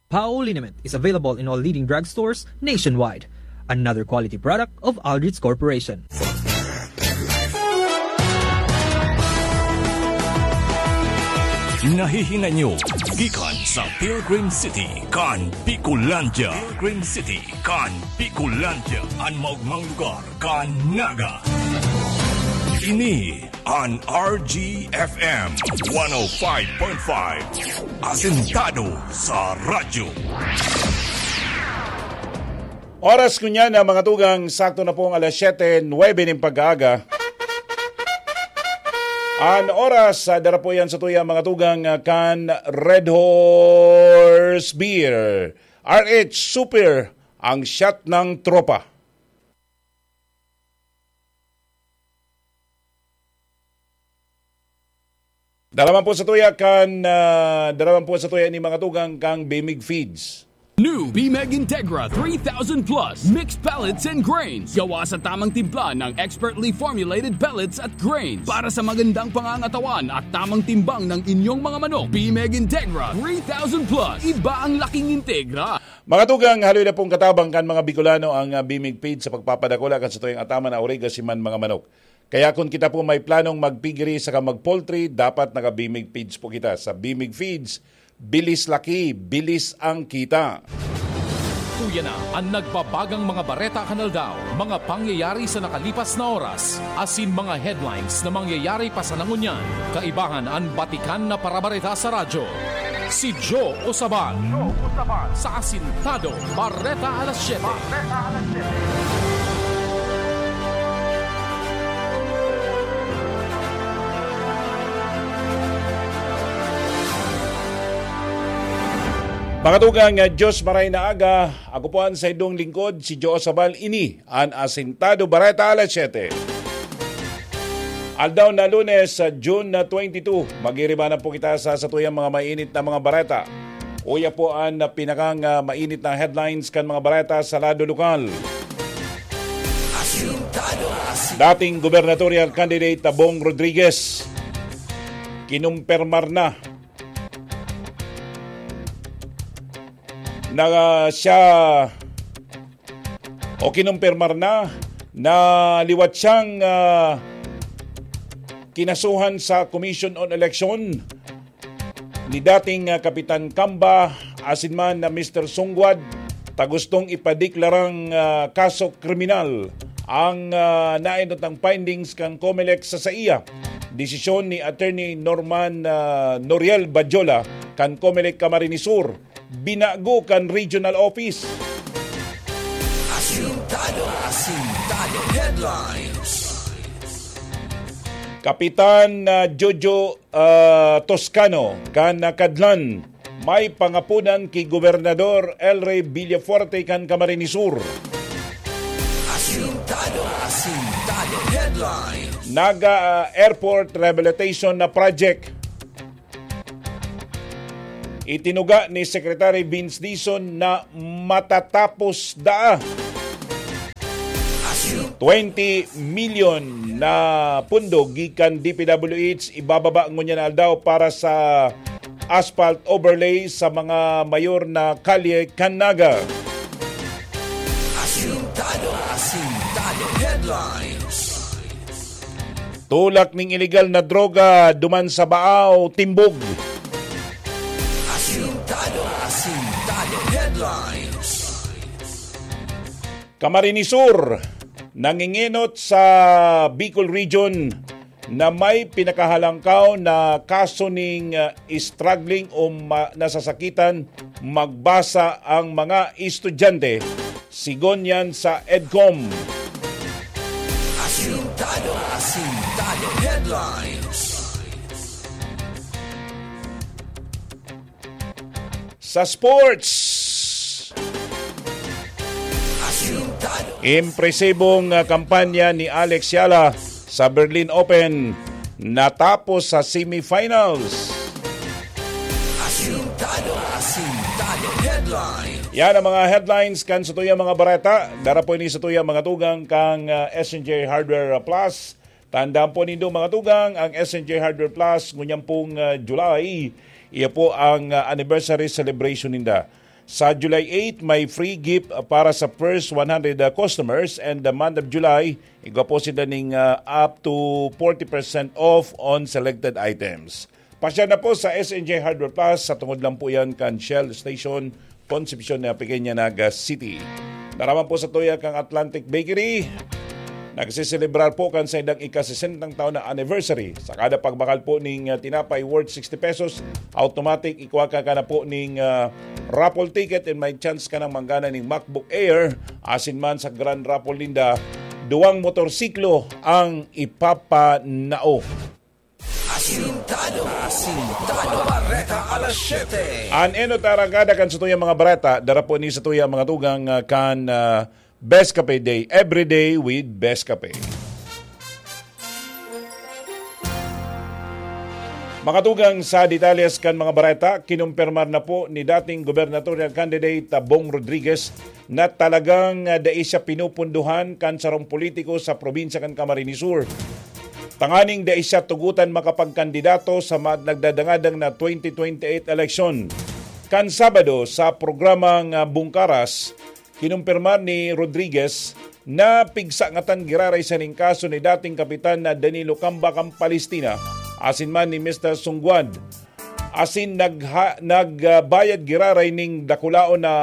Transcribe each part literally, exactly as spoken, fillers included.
Pao liniment is available in all leading drugstores nationwide. Another quality product of Aldrich Corporation. Nahihinay nyo gikan sa Pilgrim City kan Bicolandia. Pilgrim City kan Bicolandia, an maogmang lugar kan Naga. Ini an R G F M one oh five point five, asentado sa radyo. Oras ngunyan na, mga tugang, sakto na pong alas siyete nuwebe nin pag-aaga. An oras, ah, dara po yan sa tuya, mga tugang, ah, kan Red Horse Beer. R H Super, ang shot ng tropa. Daraman po sa tuya kan, ah, daraman po sa tuya ni mga tugang kang Bimig Feeds. New Bimeg Integra three thousand Plus Mixed Pellets and Grains. Gawa sa tamang timpla ng expertly formulated pellets at grains para sa magandang pangangatawan at tamang timbang ng inyong mga manok. Bimeg Integra three thousand Plus. Iba ang laking Integra. Mga tugang, haloy na pong katabang kan mga Bicolano ang, ah, Bimig Feeds sa pagpapadakula kan satuyang ataman na origa siman mga manok. Kaya kun kita po may planong mag-piggery saka mag-poultry, dapat naka-Bimig Feeds po kita. Sa Bimig Feeds, bilis laki, bilis ang kita. Uya na an nagbabagang mga bareta kan aldaw, mga pangyayari sa nakalipas na oras, asin mga headlines na mangyayari pa sana ngunyan. Kaibahan an batikan na parabareta sa radyo. Si Joe Osaban sa Asintado Bareta Alas Siyete. Mga tugang, Diyos maray na aga. Ako po an saindong lingkod, si Joe Sabal. Ini an Asintado Bareta Alas Siyete. Aldaw na Lunes, sa June na twenty-two, magiribanan po kita sa satuyang mga mainit na mga bareta. Uya po an pinakang, ah, mainit na headlines kan mga bareta sa lado lokal. Asintado, asin- Dating gubernatorial candidate na Bong Rodriguez, kinumpirmar na na siya o kinumpirmar na na liwat siyang, ah, kinasuhan sa Commission on Election ni dating, ah, Kapitan Camba asin man na Mister Sungguad ta gustong ipadeklarang, ah, kaso kriminal ang, ah, naenot na findings kan Comelec sa saiya. Desisyon ni Attorney Norman, ah, Noriel Badjola kan Comelec Camarines Sur, binago kan regional office. Asintado, Asintado Headlines. Kapitan, ah, Jojo, ah, Toscano kan, ah, Kadlan, may pangapodan ki Gobernador El Rey Villafuerte kan Camarines Sur. Asintado, Asintado Headlines. Naga, ah, Airport Rehabilitation na Project. Itinuga ni Secretary Vince Dizon na matatapos daa. Twenty million na pundo gikan D P W H ibababa ngunyan na aldaw para sa asphalt overlay sa mga mayor na kalye kan Naga. Asintado, Asintado Headlines. Tulak ning iligal na droga duman sa Baao, timbog. Asintado, Asintado Headlines. Camarines Sur, nangingenot sa Bicol Region na may pinakahalangkaw na kaso ning, ah, struggling o ma-, nasasakitan magbasa ang mga estudyante, sigon yan sa EDCOM. Asintado, Asintado Headlines. Sa sports, Asintado. Impresibong, ah, kampanya ni Alex Yala sa Berlin Open natapos sa semifinals. Asintado, Asintado Headlines. Yan ang mga headlines kan satuyang mga bareta. Dara po ini satuyang mga tugang kang, ah, S N J Hardware Plus. Tandaan po nindo, mga tugang, ang S N J Hardware Plus, ngunyan pong, ah, July, iya po ang, ah, anniversary celebration ninda. Sa July eight, may free gift para sa first one hundred, ah, customers, and the month of July, igwa po sila ning, ah, up to forty percent off on selected items. Pasyal na po sa S N J Hardware Plus, sa tungod lang po yan kan Shell Station, Concepcion na Pequeña, Naga City. Daraman po sa tuya kang Atlantic Bakery. Nagseselebrar po kan saindang ika-sesentang taon na anniversary. Sa kada pagbakal po ning, ah, tinapay worth sixty pesos, automatic, ikuha ka ka na po ning, ah, raffle ticket and may chance ka nang manggana ning MacBook Air. Asin man sa Grand Raffle ninda, duwang motorsiklo ang ipapanao. Asintado. Asintado. Bareta alas siyete. An enot arangkada kan satuyang mga bareta, dara po ni satuyang mga tugang, ah, kan, ah, Best Cafe Day, every day with Best Cafe. Makatugang sa detalles kan mga bareta, kinumpirmar na po ni dating gubernatorial candidate, ah, Bong Rodriguez, na talagang, ah, dai siya pinupunduhan kan sarong politiko sa probinsya kan Camarines Sur. Tanganing dai siya tugutan makapagkandidato sa ma-, nagdadangadang na twenty twenty-eight eleksyon. Kan Sabado, sa programang, ah, Bungkaras, kinumpirmar ni Rodriguez na pigsangatan giraray sa ning kaso ni dating kapitan na Danilo Camba kan Palestina, asin man ni Mister Sungguan. Asin nagha-, nagbayad giraray ning dakulaon na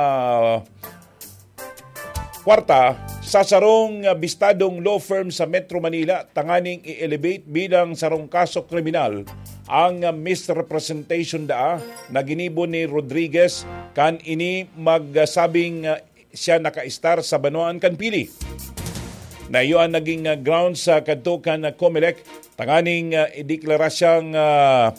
kwarta sa sarong bistadong law firm sa Metro Manila tanganing i-elevate bilang sarong kaso kriminal ang misrepresentation daa na ginibo ni Rodriguez kan ini magsabing siya nakaistar sa banwaan kan Pili. Na iyo ang naging, ah, grounds sa kadto kan, ah, Comelec tanganing, ah, ideklara siyang, ah,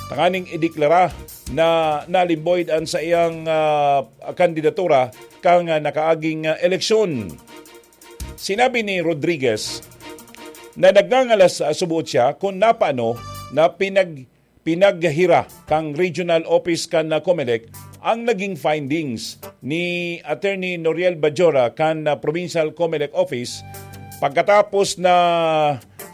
tanganing ideklara na null and void an saiyang, ah, kandidatura kan, ah, nakaaging, ah, eleksyon. Sinabi ni Rodriguez na nagngangalas, ah, subuot siya kun napaano na pinag-, pinaghira kan regional office kan, ah, Comelec ang naging findings ni Attorney Noriel Bajora kan, ah, Provincial Comelec Office pagkatapos na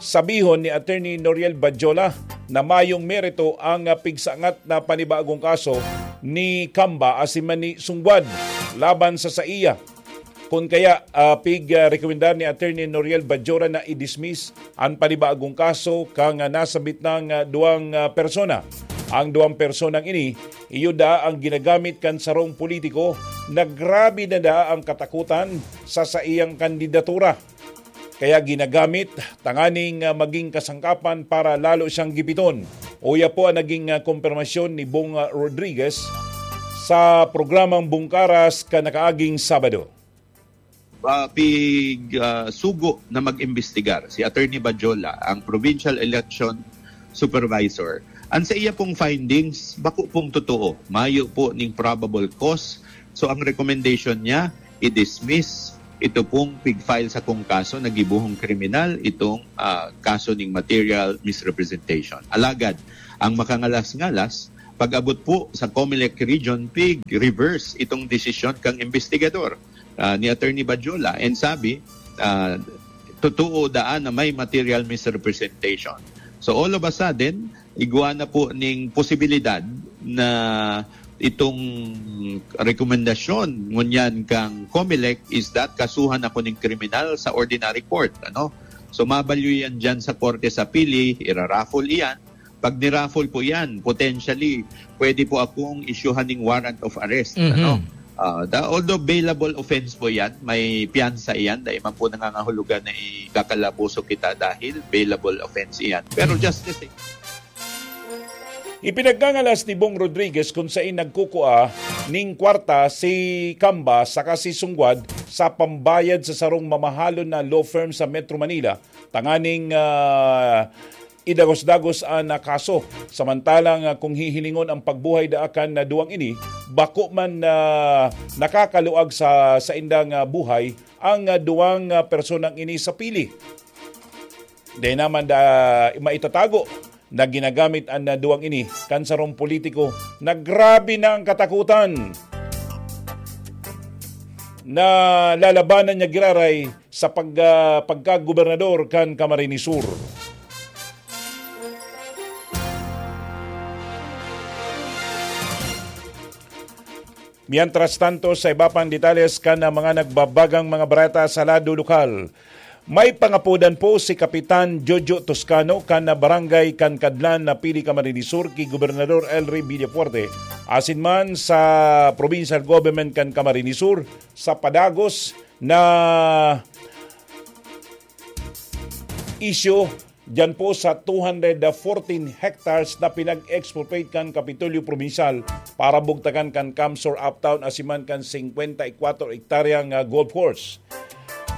sabihon ni Attorney Noriel Bajola na mayong merito ang, ah, pigsangat na panibagong kaso ni Camba asin man ni Sungguan laban sa saiya. Kun kaya, ah, pig, ah, rekomendar ni Attorney Noriel Bajola na i-dismiss an panibagong kaso kan, ah, nasabit nang, ah, duwang, ah, persona. Ang duwang personang ini, iyo daa ang ginagamit kan sarong politiko na grabe na daa ang katakutan sa saiyang kandidatura. Kaya ginagamit tanganing, ah, maging kasangkapan para lalo siyang gipiton. Uya po ang naging, ah, kompirmasyon ni Bong, ah, Rodriguez sa programang Bungkaras kan nakaaging Sabado. Ah, pig, ah, sugo na mag-imbestigar si Attorney Bajola, ang Provincial Election Supervisor. Ang sa iya pong findings, bako pong totoo. Mayo po ning probable cause. So, ang recommendation niya, i-dismiss ito pong pig-file sa kong kaso na gibohong kriminal, itong, ah, kaso ning material misrepresentation. Alagad, ang makangalas-ngalas, pag-abot po sa Comelec Region, pig-reverse itong desisyon kang investigador, ah, ni Attorney Bajola. And sabi, ah, totoo daan na may material misrepresentation. So, all of a sudden, igwa na po ning posibilidad na itong rekomendasyon ngunyan kang Comelec is that kasuhan ako ning kriminal sa ordinary court, ano? So, mabalyo yan dyan sa korte sa Pili, iraraffle iyan. Pag niraffle po yan, potentially, pwede po akong isyuhan ning warrant of arrest, Mhm. ano? Ah, da-, although bailable offense po yan, may piyansa iyan, dahil man po nangangahulugan na ikakalaboso kita dahil bailable offense iyan. Pero Mhm. just the same, Ipinagkangalas ni Bong Rodriguez kung sain nagkukua ning kwarta si Camba saka si Sungguan sa pambayad sa sarong mamahalon na law firm sa Metro Manila tanganing, ah, idagos-dagos an, ah, kaso. Samantalang, ah, kung hihilingon ang pagbuhay daa kan, ah, duwang ini, bako man, ah, nakakaluag sa saindang, ah, buhay ang, ah, duwang, ah, personang ini sa Pili. Dai naman da maitatago na ginagamit an, ah, duwang ini kan sarong politiko na grabe na ang katakutan na lalabanan niya giraray sa pag-, ah, pagkagobernador kan Camarines Sur. Mientras tanto, sa iba pang detalles kan mga nagbabagang mga bareta sa lado lokal, may pangapodan po si Kapitan Jojo Toscano kan barangay kan Kadlan na pili Camarines Sur ki Gobernador Elry Villafuerte, asin man sa provincial government kan Camarines Sur sa padagos na isyu diyan po sa two hundred fourteen hectares na pinag-expropriate kan Kapitolyo Probinsyal para bugtakan kan Kamsor Uptown asin man kan singkwenta y kwatro hektaryang, ah, golf course.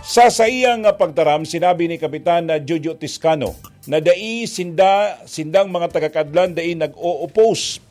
Sa saiyang, ah, pagtaram, sinabi ni Kapitan, ah, Jojo Tiscano na dai sinda, sindang mga taga-Kadlan dai nag-o-oppose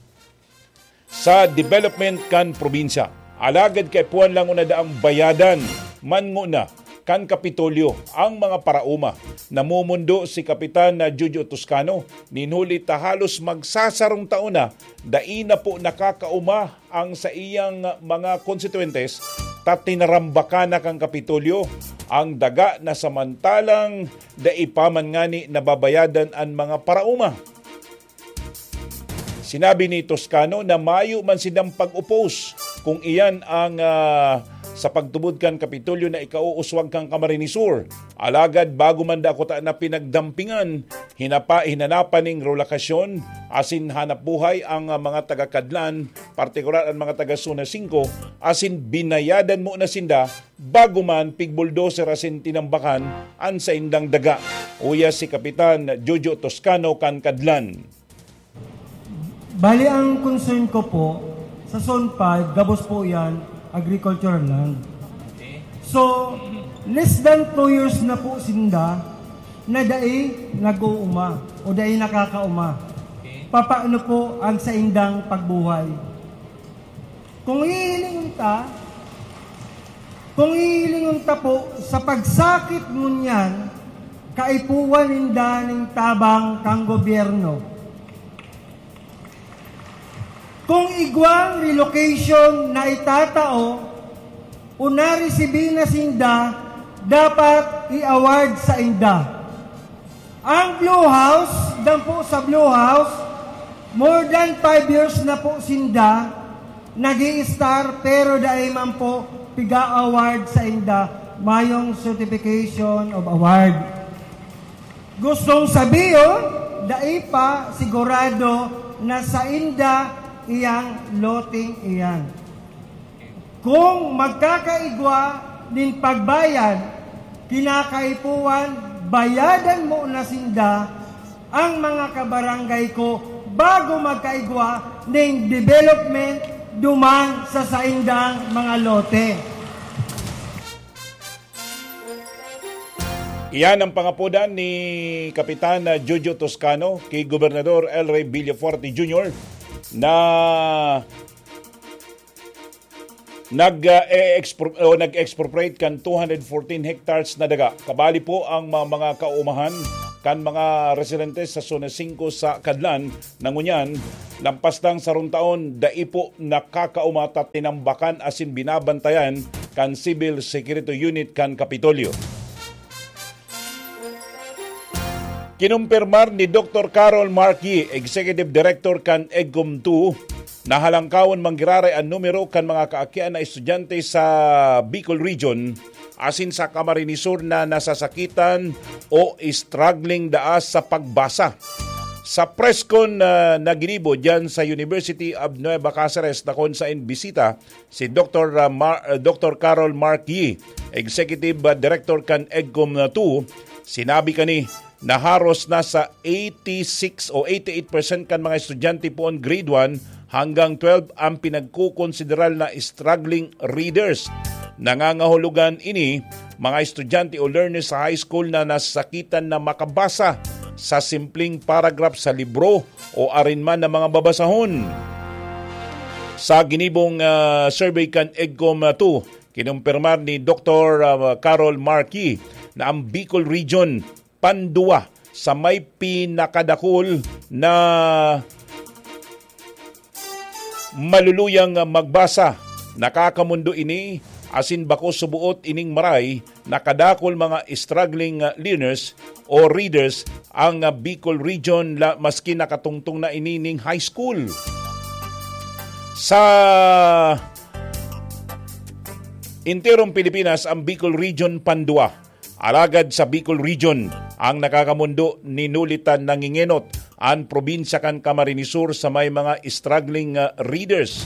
sa development kan probinsya. Alagad kaipuhan lang nguna daang bayadan man nguna kan Kapitolyo ang mga paraoma. Namumundo si Kapitan na Jojo Toscano, nin huli ta halos magsasarong taon na dai na po nakakaoma ang saiyang mga konstituentes, ta tinarambakan na kan Kapitolyo ang daga na samantalang dai pa man ngani nababayadan an mga paraoma. Sinabi ni Toscano na mayo man sindang pag-oppose kung iyan ang, ah, sa pagtubod kan Kapitolyo na ikauuswag kan Camarines Sur. Alagad bago man dako ta na pinagdampingan, hinapa, hinanapan ning relokasyon asin hanap buhay ang, ah, mga taga-Kadlan, partikular ang mga taga-Zona singko, asin binayadan mo na sinda bago man pig-bulldozer asin tinambakan an saindang daga. Uya si Kapitan Jojo Toscano kan Kadlan. Bali, ang concern ko po, sa Zone five, gabos po yan, agricultural land. So, less than two years na po sinda na dai nag-uuma o dai nakakauma. Papaano po ang saindang pagbuhay? Kung hihilingon ta, kung hihilingon ta po sa pagsakit ngunyan, kaipuhan ninda ning tabang kang gobyerno. Kung igwang relocation na itatao o naresibi na sinda, dapat i-award sa inda. Ang Blue House, dan po sa Blue House, more than five years na po sinda nag star pero dai man po piga-award sa inda mayong certification of award. Gustong sabihon, dai pa sigurado na sa inda iyang loting iyan. Kung magkakaigwa nin pagbayad, kinakaipuhan, bayadan mo na sinda ang mga kabarangay ko bago magkaigwa ning development duman sa saindang mga lote. Iyan ang pangapodan ni Kapitan, ah, Jojo Toscano ki Gobernador Elry Villafuerte Junior na nag, ah, e-expro-, o nag-expropriate kan two hundred fourteen hectares na daga. Kabali po ang ma-, mga kaumahan kan mga residente sa Zona singko sa Kadlan na ngunyan, lampas nang sarong taon, dai po nakakauma ta tinambakan asin binabantayan kan Civil Security Unit kan Kapitolyo. Kinumpirmar ni Doktor Carol Mark Yee, Executive Director kan EGCOM two, na halangkawon manggiraray an numero kan mga kaakian na estudyante sa Bicol Region asin sa Camarines Sur na nasasakitan o struggling daa sa pagbasa. Sa press con, ah, na ginibo diyan sa University of Nueva Caceres na kun saen bisita si Doktor, ah, Mar-, ah, Doktor Carol Mark Yee, Executive, ah, Director kan EGCOM two, sinabi kani na haros nasa eighty-six o eighty-eight percent kan mga estudyante poon grade one hanggang twelve ang pinagkokonsideral na struggling readers. Nangangahulugan ini, mga estudyante o learners sa high school na nasakitan na makabasa sa simpleng paragraph sa libro o arin man na mga babasahon. Sa ginibong, ah, survey kan EGCOM two, kinumpirmar ni Doktor, ah, Carol Markey na ang Bicol Region panduwa sa may pinakadakul na maluluyang magbasa. Nakakamondo ini, asin bako suboot ining maray na kadakul mga struggling, ah, learners o readers ang, ah, Bicol Region, la-, maski nakatungtong na ini ning high school. Sa Enterong Pilipinas ang Bicol Region pandua. Alagad sa Bicol Region, ang nakakamondo ni Nolita Nangingenot, ang probinsya kan Camarines Sur sa may mga struggling, ah, readers.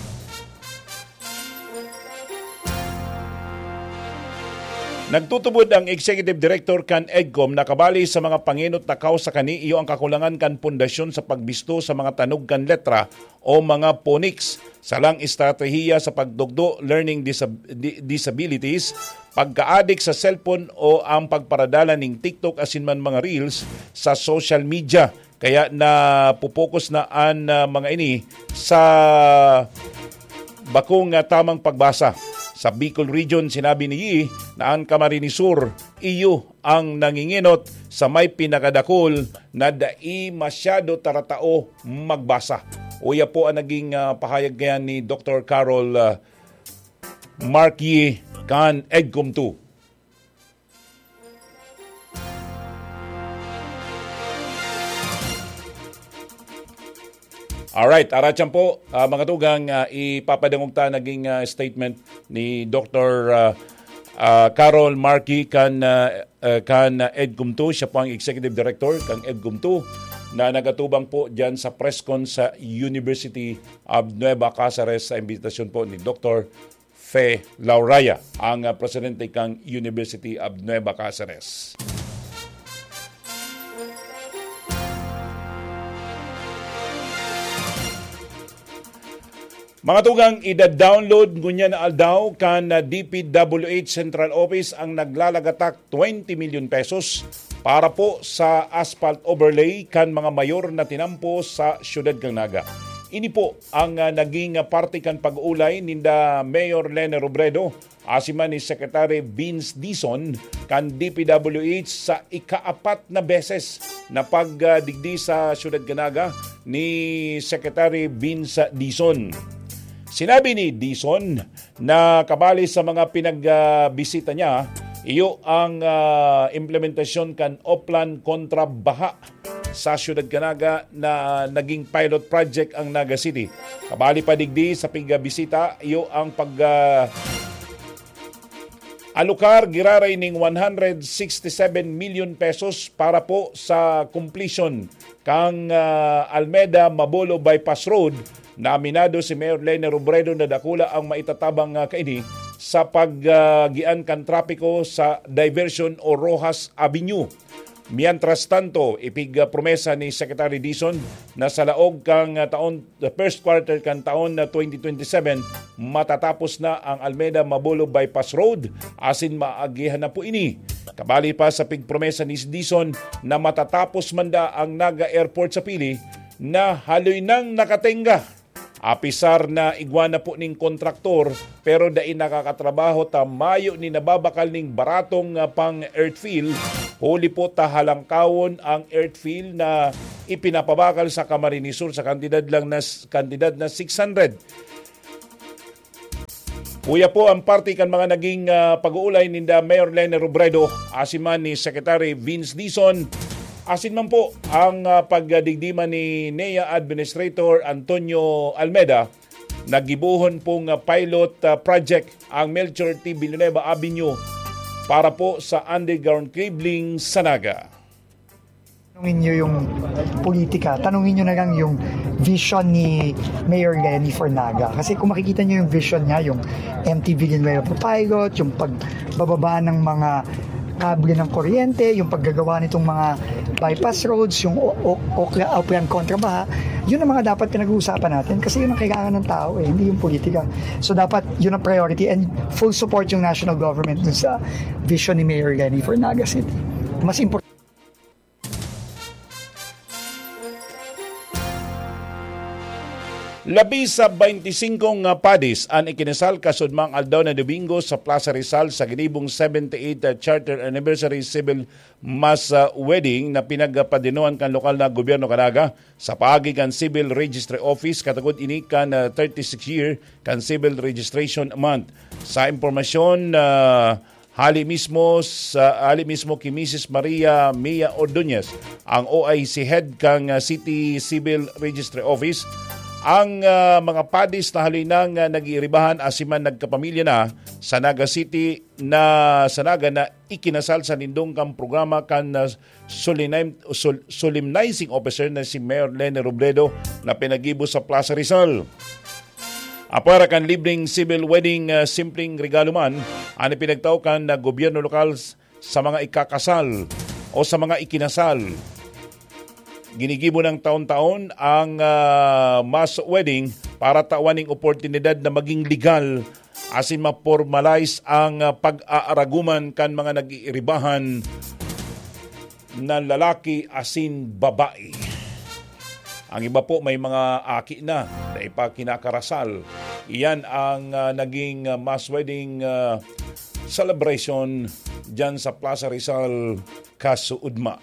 Nagtutubod ang Executive Director kan EDCOM na kabali sa mga pangenot na kausa kani iyo ang kakulangan kan pundasyon sa pagbisto sa mga tanog kan letra o mga phonics, salang estratehiya sa pagtugdo, learning disab-, di-, disabilities, pagkaadik sa cellphone o ang pagparadala ning TikTok asin man mga reels sa social media. Kaya napopokus na an, ah, mga ini sa bakong, ah, tamang pagbasa. Sa Bicol Region, sinabi ni Yi na ang Camarines Sur iyo ang nangingenot sa may pinakadakul na dai masyado taratao magbasa. Uya po ang naging, ah, pahayag kaya ni Doktor Carol, ah, Mark Yi kan EDCOM two. Alright, aratyan po, ah, mga tugang, ah, ipapadangog ta naging, ah, statement ni Doktor, ah, ah, Carol Markey kan, ah, ah, kan, ah, EDCOM two. Siya po ang Executive Director kan EDCOM two na nagatubang po dyan sa press con sa University of Nueva Caceres sa imbitasyon po ni Doktor Fe Lauraya, ang, ah, presidente kan University of Nueva Caceres. Mga tugang, ida-download ngunyan na aldaw kan, ah, D P W H Central Office ang naglalagatak twenty million pesos para po sa asphalt overlay kan mga mayor na tinampo sa siyudad kan Naga. Ini po ang, ah, naging, ah, parte kan pag-uulay ninda Mayor Lene Robredo asin man ni Secretary Vince Dizon kan D P W H sa ikaapat na beses na pagdigdi sa siyudad kan Naga ni Secretary Vince Dizon. Sinabi ni Dizon na kabali sa mga pinagbisita niya, iyo ang, ah, implementasyon kan Oplan kontra Baha sa siyudad kan Naga na naging pilot project ang Naga City. Kabali pa digdi sa pigbisita, iyo ang pag, ah, alokar giraray ning one hundred sixty-seven million pesos para po sa completion kan, ah, Almeda Mabolo Bypass Road na aminado si Mayor Lene Robredo na dakula ang maitatabang, ah, kaini sa pag, ah, gian kan trapiko sa diversion o Roxas Avenue. Mientras tanto, ipigpromesa ni Secretary Dizon na sa laog kan, ah, taon, the first quarter kan taon na twenty twenty-seven, matatapos na ang Almeda Mabolo Bypass Road, asin maagihan na po ini. Kabali pa sa pigpromesa ni Dizon na matatapos man da ang Naga Airport sa Pili na haloy nang nakatenga. Apisar na igwa na po ning kontraktor, pero dai nakakatrabaho ta mayo ni nababakal ning baratong, ah, pang earthfill, huli po ta halangkawon ang earthfill na ipinapabakal sa Camarines Sur sa kantidad lang na s-, kantidad na six hundred. Uya po ang parte kan mga naging, ah, pag-uulay ninda Mayor Lene Robredo, asin man ni Secretary Vince Dizon, asin man po ang, ah, pagdigdi man ni NEA Administrator Antonio Almeda. Naggibohon pong, ah, pilot, ah, project ang Melchor T Villanueva Avenue para po sa underground cabling sa Naga. Tanungin niyo yung politika, tanungin niyo na lang yung vision ni Mayor Leni for Naga. Kasi kung makikita niyo yung vision niya, yung M T Villanueva pilot, yung pagbababa ng mga kable ng kuryente, yung paggagawa nitong mga bypass roads, yung o- o- Okla- Opian kontra Baha, yun ang mga dapat pinag-uusapan natin kasi yun ang kailangan ng tao eh, hindi yung politika. So dapat yun ang priority and full support yung national government dun sa vision ni Mayor Leni for Naga City. Mas importante Labi sa baynti singko nga padis an ikinasal kasudmang aldaw na Domingo sa Plaza Rizal sa ginibong seventy-eighth Charter Anniversary Civil Mass, ah, Wedding na pinagpadinuan kan lokal na gobyerno kan Naga sa paagi kan Civil Registry Office katagod ini kan, ah, thirty-six year kan Civil Registration Month. Sa impormasyon, ah, Hali mismo sa, hali mismo ki Misis Maria Mia Ordonez, ang O I C head kan, ah, City Civil Registry Office, Ang, ah, mga padis na haloy nang, ah, nag-iiribahan asin man nagkapamilya na sa Naga City na sa Naga na ikinasal sa nindong kan programa kan, ah, solemn-, sol-, solemnizing officer na si Mayor Leni Robredo na pinaggibo sa Plaza Rizal. Apwera kan libreng civil wedding, ah, simpleng regalo man an ipinagtao kan, ah, gobyerno lokal s-, sa mga ikakasal o sa mga ikinasal. Ginigibo ng taon-taon ang, ah, mass wedding para tawan ning oportunidad na maging legal asin ma-formalize ang, ah, pag-aaraguman kan mga nag-iiribahan na lalaki asin babae. Ang iba po may mga aki na, na ipa kinakarasal. Iyan ang, ah, naging, ah, mass wedding, ah, celebration diyan sa Plaza Rizal, Casuudma.